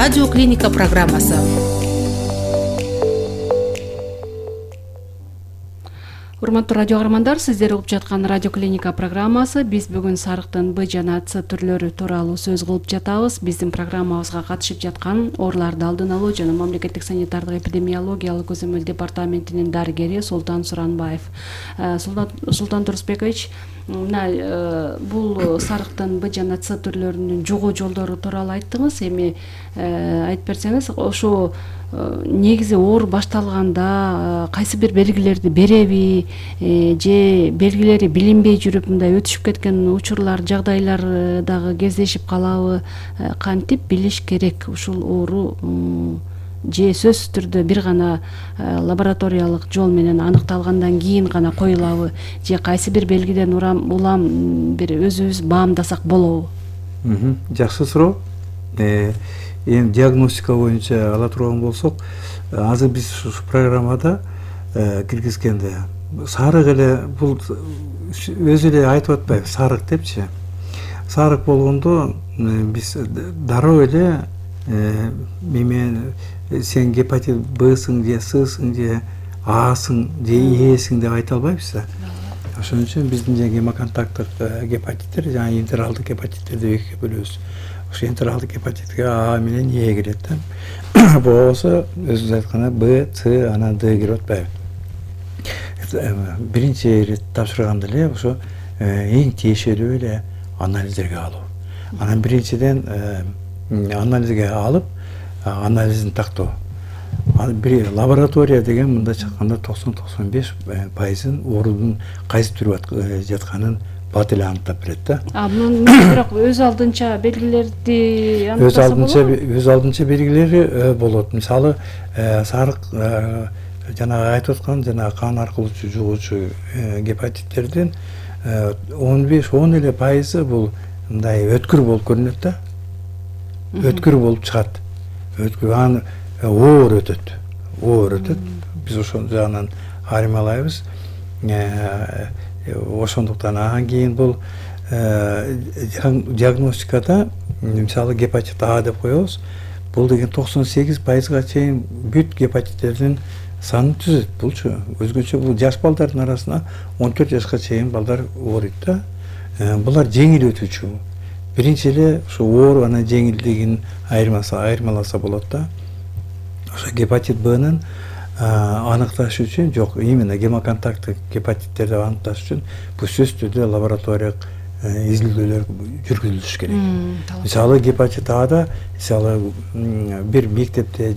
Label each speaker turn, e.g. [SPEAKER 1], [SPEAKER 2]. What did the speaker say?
[SPEAKER 1] Радио Клиника программасы. Урматтуу радио каармандар, сиздер угуп жаткан Радио Клиника программасы. Биз бүгүн сарыктын Б жана С түрлөрү тууралуу сөз кылып жатабыз. Биздин программабызга катышып жаткан ооруларды алдын алуу жана мамлекеттик санитардык эпидемиологиялык көзөмөл департаментинин дарыгери Султан Суранбаев. Султан Турсбекович, бул сарыктын Б жана С түрлөрүнүн жугуу жолдору тууралуу айттыңыз. Эми айтып берсеңиз, ошо негизи оору башталганда кайсы бир белгилерди береби же белгилери билинбей жүрүп мындай өтүшүп кеткен учурлар, жагдайлар дагы кездешип калабы, кантип билиш керек ушул оору же сөзсүз түрдө бир гана лабораториялык жол менен аныкталгандан кийин гана коюлабы, же кайсы бир белгиден улам бир өзүбүз баамдасак болобу?
[SPEAKER 2] Жакшы суроо. Эми диагностика боюнча ала турган болсок, азыр биз ушу программада киргизгенде сарык эле бул өзү эле айтып атпайбы, сарык депчи. Сарык болгондо биз дароо эле сен гепатит Бсың же Ссың же Асың же Эсиң деп айта албайбыз да. Ошон үчүн биздин гемоконтакттык гепатиттер жана интералдык гепатиттерди экиге бөлөбүз. Ошо интералдык гепатитке А менен Е кирет да. Болбосо өзүңүз айткандай Б, С, анан Д кирип атпайбы. Биринчи ирет тапшырганда эле ошо эң тиешелүү эле анализдерге алуу. Анан биринчиден анализге алып, анализин тактоо. Бир лаборатория деген мында чыкканда 90-95% оорунун кайсы түрү жатканын бат эле аныктап берет да.
[SPEAKER 1] Бирок өз алдынча белгилерди аныктаса болобу?
[SPEAKER 2] Өз алдынча белгилери болот. Мисалы, сарык жана айтып аткан жана кан аркылуу жугуучу гепатиттердин 15-10 эле пайызы бул мындай өткүр болуп көрүнөт да. Өткүр болуп чыгат. Өткүр оор өтөт. Биз ошол жагынан айырмалайбыз. Ошондуктан анан кийин бул диагностикада мисалы гепатит А деп коебуз. Бул деген 98%га чейин бүт гепатиттердин санын түзөт. Булчу өзгөчө бул жаш балдардын арасына 14 жашка чейин балдар ооруйт да. Булар жеңил өтүүчү. Биринчи эле ушу оору анан жеңилдигин айырмаласа болот да. Ошо гепатит Бнын аныкташ үчүн жок, именно гемоконтакттык гепатиттерди аныкташ үчүн бул сөзсүз түрдө лабораториялык изилдөөлөр жүргүзүлүш керек. Мисалы гепатит Ада, мисалы бир мектепте же